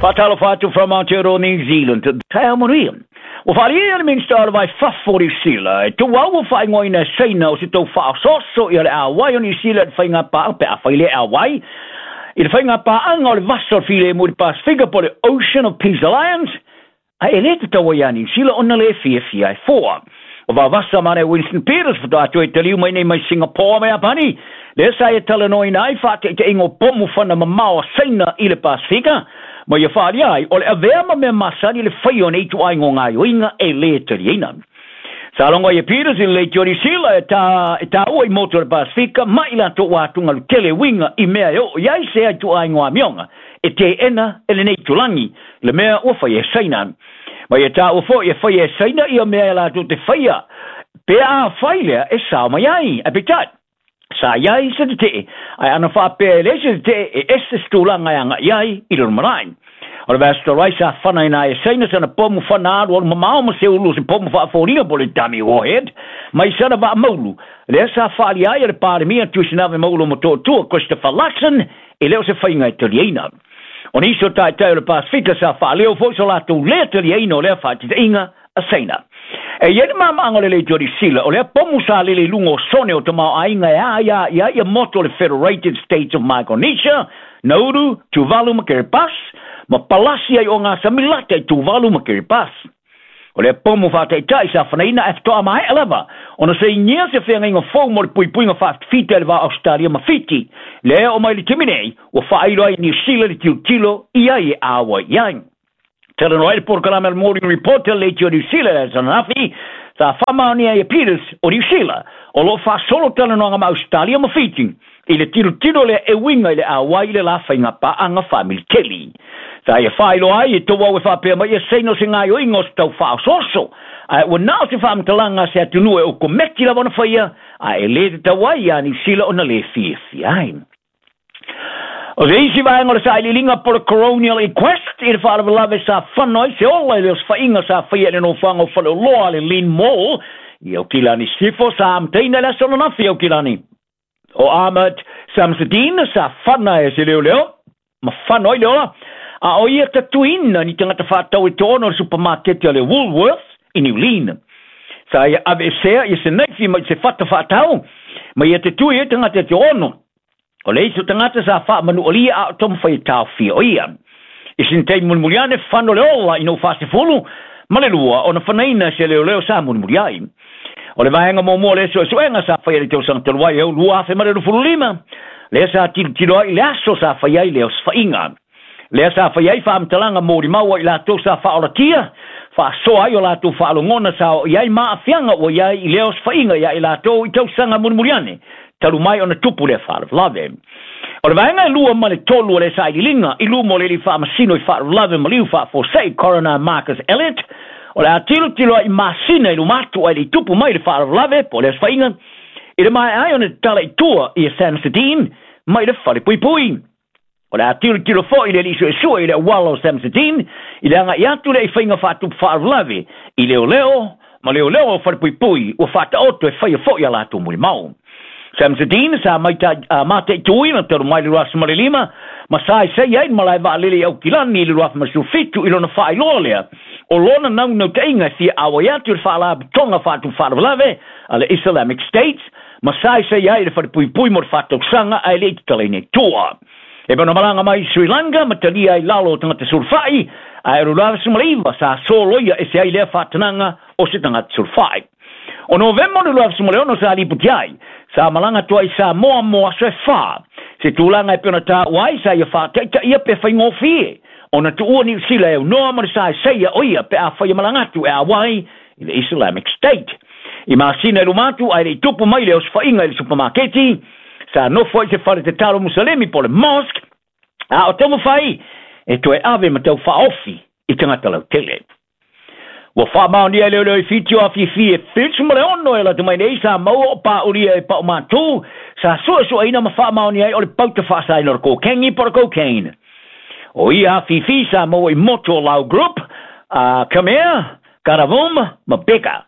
Faatalofa atu from Aotearoa New Zealand. Taeao manuia. Ua faaalia le Minisita o le Vai Fafo o Niu Sila e tuau ua faaigoaina e Saina o se tou faaosooso ia le auai o Niu Sila i le faiga paaga pe afai le auai i le faiga paaga o le Vasa o le Filemu i le Pasefika po o le Ocean of Peace Alliance, ae e le tatau ai ia Niu Sila ona le fiafia e foa. O vavasa ma le Winston Peters faatoa toe taliu mai nei mai Singapore ma Iapani, lea sa ia talanoaina ai faataitaiga o pomu fana mamao a Saina i le Pasefika, ma ia faaalia ai o le avea ma mea masani le faia o nei ituaiga o gaoioiga e le taliaina. Sa logo ai e Peters i le leitio Niu Sila e ta e taua i motu o le Pasefika ma i latou ua atugalu tele uiga i mea e oo i ai se ituaiga o amioga e teena e lenei itulagi le mea ua faia e Saina. Ma ia taua foi e faia e Saina ia mea e latou te faia pe afai lea e sao mai ai. Ae peitai, sa i ai se tetee, ae ana faapea e leai se tetee e ese se tulaga e agai ai i le lumanai. O le vaiaso talu ai sa fanaina ai e Saina sana pomu fana alualu mamao ma se ulu o se pomu faafoliga po o le dummy warhead mai sana vaa maulu, lea sa faaalia ai e le Palemia Tuisinave Maulu Motootua Christopher Luxon e le o se faiga e taliaina. O nisi o taitai o le Pasefika sa faaleo foi so latou lea taliaina o lea faaititaiga a Saina. E i ai le maamaaga o le leitio Niu Sila, o lea pomu sa lele i luga o sone o tamaoaiga e aia i ai ia motu o le Federated States of Micronesia, Nauru, Tuvalu ma Kiribati, ma palasi ai o ngā sami lata i Tuvalu ma Kiribati. O lea pomu faataitai sa fanaina ae faatoa maea lava ona sainia se feagaiga fou mo le puipuiga faafitafita i le va o Ausetalia ma Fiti. Lea oo mai le taimi nei, ua faailo ai Niu Sila le tilotilo i ai e āwai i ai. Talanoa ai le polokalame a le Morning Report a le Leitio Niu Sila i le aso ananafi, sa faamaonia ai e Peters o Niu Sila, o lo o faasolo talanoaga ma Ausetalia ma Fiti i le tilotilo lea e uiga i le auai i le la faiga paaga faamiliteli. Sa ia faailoa ai e tou au e faapea mai ia Saina o se gaoioiga o se tau faaosooso, ae ua na o se faamatalaga a se atunuu e okometi lava ona faia, ae e le tatau ai ia Niu Sila ona le fiafia ai. O se isi vaega o le sailiiliga po o le Coronial Inquest i le faalavelave sa fano ai se ola i le osofaiga sa faia i le nofoaga o Faleoloa a le Lynn Mall i Aukilani Sisifo sa amataina i le aso ananafi i Aukilani. O Ahmad Samsudeen sa fana e se leoleo ma fano ai le ola, a o ia tatuina ni tagata faatau e toaono o le supamaketi a le Woolworths i Niu Lin. Sa ia aveesea ia se naifi mai se fata faatau ma ia te tui ai tagata e toaono. O le isi o tagata sa faamanualia a o taumafai e taofia o ia. I sina taimi mulimuli ane, fano le ola ina ua faasefulu ma le lua ona fanaina se leoleo sa mulimuli ai. O le vaega muamua o lea suesuega sa faia i le tausaga talu ai e 2025, lea sa tilotilo ai i le aso sa faia ai le osofaiga. Lea sa faia ai faamatalaga molimau a i latou sa faaolatia, faasoa ai o latou faalogona sa oo i ai ma aafiaga ua i ai i lea osofaiga ia i latou i tausaga mulimuli ane, talu mai ona tupu lea faalavelave. O le vaega e lua ma le tolu o lea sailiiliga i luma o le alii faamasino i faalavelave maliu faafuasei Coroner Marcus Elliott, o le a tilotilo ai i masina i luma atu ae le i tupu mai le faalavelave po o le osofaiga, i le maea ai ona tatala i tua ia Samsudeen mai le falepuipui. O le a tilotilo foi le alii suesue i le auala o Samsudeen i le agai atu lea i faiga faatupu faalavelave i leoleo ma leoleo o falepuipui ua faataoto e faia foi a latou molimau. Samsudeen sa mataituina talu mai le 2005 ma sa saisai ai le malae vaalele i Aukilani i le 2017 i lona faailoa lea o lona naunautaiga e fia auai atu i le faalapotopotoga faatupu faalavelave a le Islamic State ma saisai ai i le falepuipui mo le faatausaga ae le i tatalaina i tua. E pei ona malaga mai i Sri Lanka ma talia ai lalo o tagata sulufai, ae o le 2019 sa soloia ese ai lea faatanaga o se tagata sulufai. O Novema o le 2016 sa lipoti ai, sa malaga atu ai i Samoa mo aso e fa, se tulaga e pei ona taua ai sa ia faataitaia pe faigofie ona tuua Niu Sila e aunoa ma le saesaia o ia pe afai e malaga atu e auai i le Islamic State. I masina i luma atu ae le i tupu mai le osofaiga i le supamaketi, sa nofo ai i se fale tatalo Musalemi po o le mosque, a o taumafai e toe ave ma tau faaofi i tagata lautele. Ua faamaonia e leoleo i Fiti o afifi e 76 e lata mai nei sa maua o paulia e paumatū sa suesueina ma faamaonia ai o le pauta faasaina o le kokengi po o le cocaine. O ia afifi sa maua i motu o Lau Group, a Khmer, Karavum ma Beka.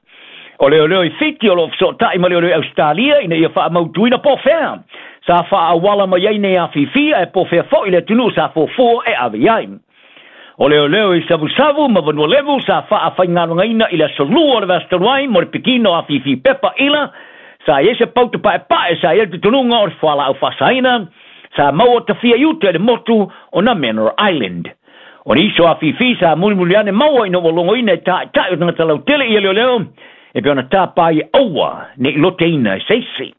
O leoleo i Fiti o lo o fesootai ma leoleo i Ausetalia ina ia faamautuina po o fea sa faaauala mai ai nei afifi ae po o fea foi le atunuu sa fuafua e ave i ai. O leoleo i Savusavu ma Vanualevu sa faafaigaluegaina i le aso lua o le vaiaso talu ai mo le pikina o afifi pepa ila sa i ai se pautu paepae sa i ai le tutunuga o le fualaau faasaina sa maua tafia i uta i le motu o Namenora Island. O nisi o afifi sa mulimuli ane maua ina ua logoina e taʻitaʻi o tagata lautele ia leoleo e pei ona tapa ai e aua ne i loteina e se isi.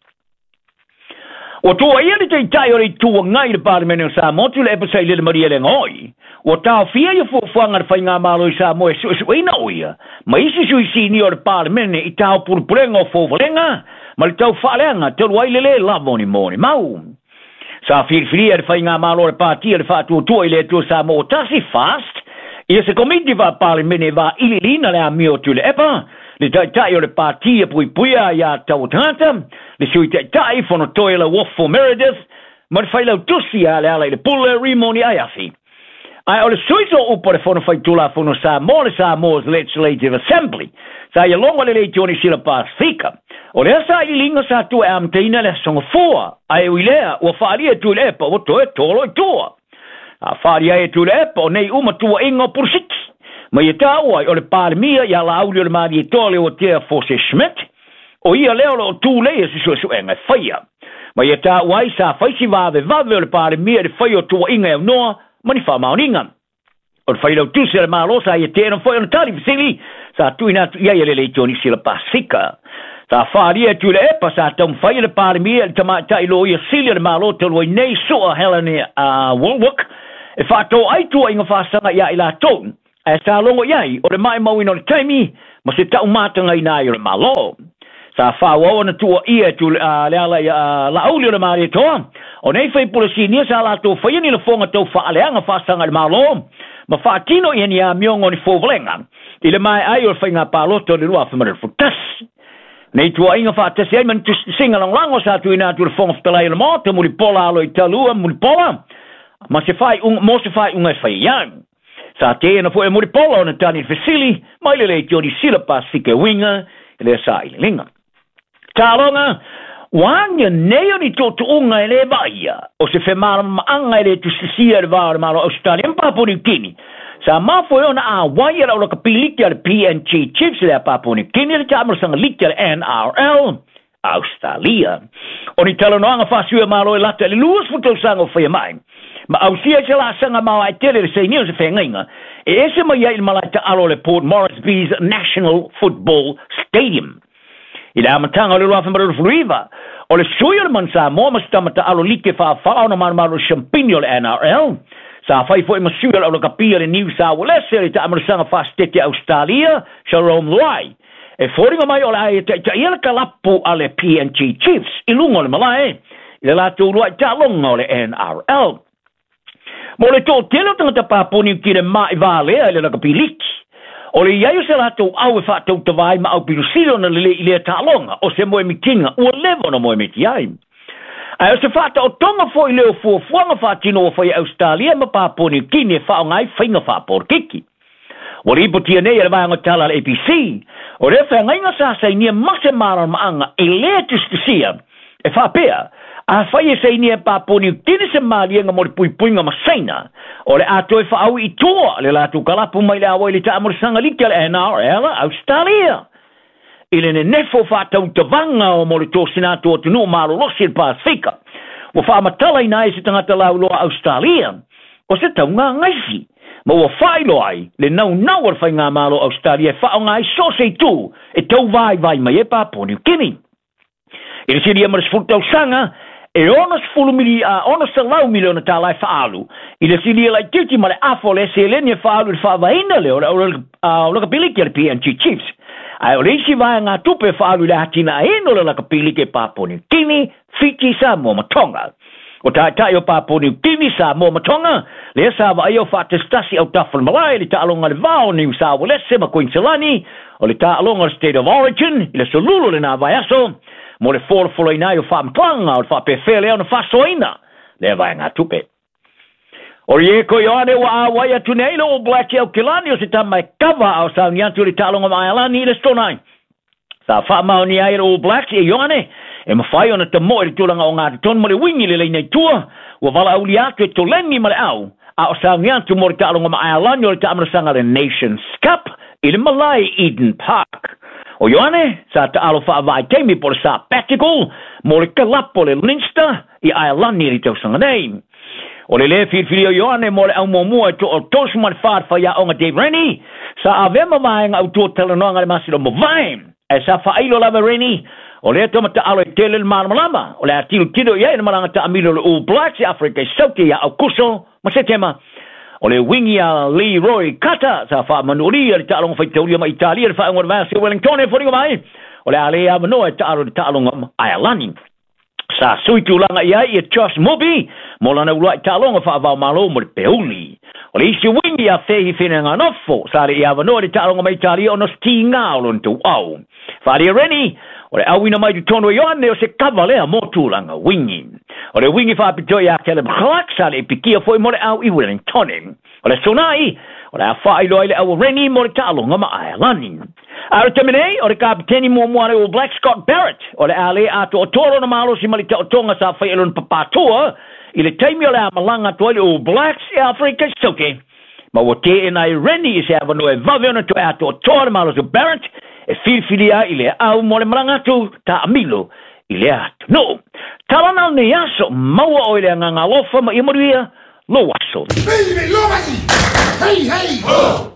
Ua tuuaia le Taitai o le Itu Agai i le Palemene o Samoa Tuilaepa Sailele Malielegaoi, ua taofia ia fuafuaga a le Faigamalo i Samoa e suesueina o ia ma isi sui sinia o le Palemene i taopulepulega o fouvalega ma le tau faaleaga talu ai le lē lava o ni molimau. Sa filifilia e le Faigamalo a le Pati a le Faatuatua i le Atua Samoa ua Tasi, FAST, ia se Komiti Faa-Palemene e vailiiliina le amio o Tuilaepa, le Taitai o le Pati e Puipuia Aiatatau a Tagata, le Sui Taitai Fonotoe Lauofo Meredith, ma le Failautusi a Lealailepule Rimoni Aiafi. Ae o le sui sooupu o le Fono Faitulafono Samoa, le Samoa's Legislative Assembly, sa ia logo le Leitio Sila Pasifika. O lea sailiiliga sa tua e amataina le aso Gafua, ae ui lea ua faaalia e Tuilaepa ua toe tolo i tua. A faaalia ai e Tuilaepa o nei uma tuuaiga o Pulosiki. Ma ia taua ai o le Palemia ia Laauli o le Malietoa Leuatea Forse Schmidt, o ia lea o lo o tulei e se suesuega e faia. Ma ia taua ai sa fai si vavevave o le Palemia i le fai o tuuaiga e aunoa ma ni faamaoniga. O le failautusi a le Malo sa ia teena foi ona tali fesili sa tuuina atu i ai e le Leitio Sila Pasifika. Sa faaalia e Tuilaepa sa taumafai e le Palemia i le tamaitai loia sili a le Malo talu ai nei Sua Helen Wallwork e faatoai tuuaiga faasaga ia i latou ae sa logo i ai o le maumauina o le taimi ma se taumatagaina ai o le Malo. Sa faaauau ona tuuaia e le ala i Laauli o le Malietoa o nei faipule sinia sa latou faia ni lafoga tau faaleaga faasaga i le Malo ma faatino ia ni amioga o ni fouvalega i le maea ai o le faiga palota o le 2021. Nei tuuaiga faatasi ai ma ni tusitusiga lagolago sa tuuina atu i le Fofoga Fetalai o le Maota Mulipola Aloitalua Mulipola ma se faaiuga mo se faaiuga e fai ai. Sa teena foi e Mulipola ona tali i le fesili mai le Leitio Sila Pasifika e uiga i lea sailiiliga. Taloga, ua agia nei o ni tuutuuga e lē vaaia o se femalamaaga e lē tusitusia i le va o le Malo o Ausetalia ma Papua Niu Kini. Sa mafua ai ona auai e le aulakapiliki a le PNG Chiefs le a Papua Niu Kini le taamalosaga liki a le NRL Australia. O ni talanoaga faasui o Malo e lata i le 20 tausaga o faia mai. Ma ausia ai se laasaga maoae tele le sainia o se feagaiga e ese mai ai i le malae taalo o le Port Moresby's National Football Stadium. I le amataga o le 2019, o le sui o le Manu Samoa ma se tama taalo like faafaa ona malumalu o le siampini o le NRL, sa fai foi ma sui o le aulakapia le New South Wales le taamalosaga faasitete Australia, Jarome Luai. E foliga mai o le a ia taitaia le kalapu a le PNG Chiefs i luga o le malae i le latou uluai taaloga o le NRL. Mo le toatele o tagata Papua Niu Kine ma'i valea i le lakapi liki, o le i ai o se latou au e faatautava ai ma aupilosili ona lelei i lea taaloga o se moemitiga ua leva ona moemiti ai. Ae o se faataotoga foi lea o fuafuaga faatino ua fai e Ausetalia ma Papua Niu Kine e faaaoga ai faiga faapolokiki. Ua lipotia nei e le vaega tala a le ABC, o lea feagaiga sa sainia ma se malamaaga e lē tusitusia e faapea, afai e sainia e Papua Niu Kini se maliega mo le puipuiga ma Saina, o le a toe faaui i tua le latou kalapu mai le auai i le taamalosaga liki a le NRL Australia. I le nenefo faatautavaga o mo le tosina atu o atunuu malolosi i le Pasifika, ua faamatalaina ai se tagata lauloa Australia o se taugagaisi, ma ua faailoa ai le naunau o le Faigamalo o Ausetalia e faaaoga ai so o se itu e tauvaivai mai ai Papua Niu Kini. I le silia ma le 10 tausaga, e 600 miliona tālā e faaalu i le silia laitiiti ma le afa o le seleni e faaalu i le faavaeina lea o le aulakapiliki a le PNG Chiefs. Ae o le isi vaegatupe e faaalu i le atinaeina o le lakapiliki e Papua Niu Kini, Fiti, Samoa ma Tonga. O taitai o Papua Niu Kini, Samoa ma Tonga, lea sa vaaia o faatasitasi autafa o le malae i le taaloga i le va o Niu Saualese ma Kuiniselani, o le taaloga o le State of Origin i le aso Lulu o lena vaiaso, mo le folafolaina ai o faamatalaga o le faapefea lea ona faasoaina lea vaegatupe. O Rieko Ioane ua auai atu nei le All Blacks i Aukilani o se tama e kava a o sauni atu i le taaloga ma Aelani i le Stonai. Sa faamaonia ai e le All Blacks e Ioane e mafai ona tamoe i le tulaga o gatotonu ma le uigi i le laina i tua, ua valaaulia atu e toleni ma le au, A o sauni atu mo le taaloga ma Ailani o le taamilosaga le Nations Cup i le malae Eden Park. O Ioane sa taalo faavaitaimi po o le sabbatical mo le kalapo le Leinster i Ailani i le tausaga nei. O le lē filifilia o Ioane mo le aumuamua e to'a 34 le faiaoga Dave Rennie sa avea ma vaega autu o talanoaga i le masina o mavae. Ae sa faailo lava Rennie o lea tamata'alo e tele le malamalama o le a tilotilo i ai le malaga taamilo o le All Blacks i Afrika i Saute ia Aukuso ma Setema. O le wingi a Leroy Carter sa faamanualia le taaloga faitaulia ma Italia le faaiuga o le vaiaso i Wellington e foliga mai o le a le avanoa e taalo i le taaloga ma Ailani. Sa sui tulaga i ai ia Josh Moby mo lana uluai taaloga faavaomalo mo le Peuli. O le isi wingi a Fehi Fineanganofo sa le i avanoa i le taaloga ma Italia ona o se tiga o lona tauau. Faaalia Rennie o le auina mai totonu o Ioane o se kava lea mo tulaga wingi. O le wingi faapitoa ia Caleb Clark sa le i pikia foi mo le au i Wellington. O le aso nai, o le a faailoa ai le au o Rennie mo le taaloga ma Ailani. A o le taimi nei, o le kapiteni muamua a le All Blacks Scott Barrett, o le a le atoatoa lona malosi ma le taotoga sa faia e lona papatua i le taimi o le a malaga atu ai le All Blacks i Afrika i Saute. Ma ua teena ai Rennie i se avanoa e vave ona toe atoatoa le malosi o Barrett e filifilia ai i le au mo le malaga atu taamilo i lea atunuu. Tala na o lenei aso, maua oe i le agaga alofa ma ia manuia lou aso. Hey, hey, ho!